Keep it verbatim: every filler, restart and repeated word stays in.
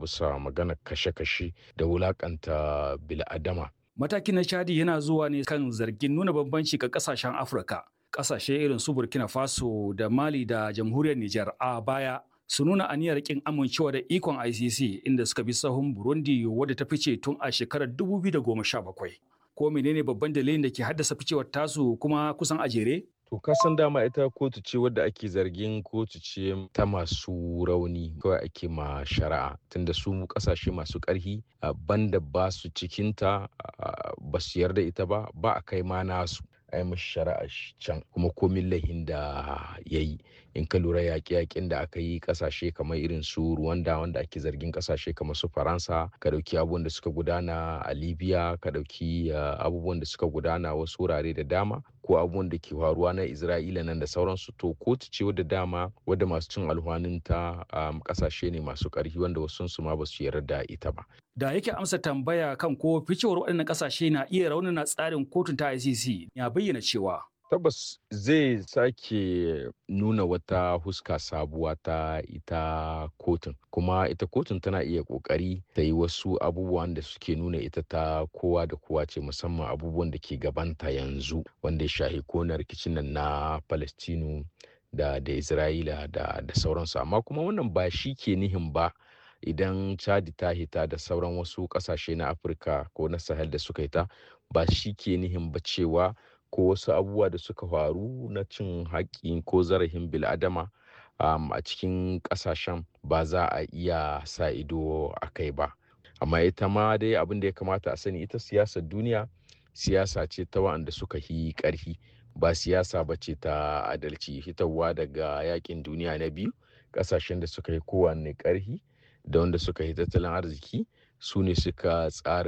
bisa maganar kashe-kashe da wulakanta bil'adama. Matakin na Chadi yana zuwa ne kan zargin nuna bambanci ga kasashen Afirka. Kasashe irin su Burkina Faso da Mali da Jamhuriyar Nijar a baya su nuna aniyar kin amincewa da ikon I C C, inda suka bi sahun Burundi wadda ta fice tun a shekarar dubu biyu da goma sha bakwai. Ko menene babban dalilin da ke haddasa ficewar tasu kuma kusan a jere? To, ka san dama ita kotu ce wadda ake zargin kotu ce ta masu rauni kawai ake ma shari'a, tunda su kasashe masu ƙarhi banda ba su cikinta, ba su yarda ita ba, ba a kai ma nasu a yi mashi shari'a can, kuma komin laihin da ya yi. In ka lura, yaƙe-yaƙen da aka yi ƙasashe kamar irin su Rwanda, wanda ake zargin ƙasashe kamar su Faransa, ka ɗauki abubuwan da suka gudana a Libya, ka ɗauki abubuwan da suka gudana wasu wurare da dama, ko abubuwan da ke faruwa na Isra'ila nan da sauransu, to kotu ce wadda dama wadda masu cin alhwanin ta ƙasashe ne masu ƙarfi, wanda wasu su ma ba su yarda ita ba. Da yake amsa tambaya kan ko ficewar waɗannan ƙasashe na iya raunana tsarin kotun ta I C C, ya bayyana cewa Tabbas zai sake nuna wata huska sabuwa ta ita kotun, kuma ita kotun tana iya kokari ta yi wasu abubuwan da suke nuna ita ta kowa da kowa ce, musamman abubuwan da ke gabanta yanzu wanda ya shahi kona rikicin nan na Palestinu da da Isra'ila da da sauransu. Amma kuma wannan ba shi ke nihin ba idan Chadi ta hita da sauran wasu kasashe na Afirka ko na Sahel da suka hita, ba shi ke nihin ba cewa ko wasu abubuwa da suka faru na cin haƙƙi ko zarafin bil'adama um, a cikin ƙasashen ba za a iya sa ido a kai ba. Amma ita ma dai abin da ya kamata a sani, ita siyasar duniya siyasa ce ta wa'anda suka yi ƙarfi, ba siyasa ba ce ta adalci. Hitarwa daga yakin duniya na biyu, ƙasashen da suka yi kowanne ƙarfi da wanda suka yi tattalin arziki su ne suka tsara.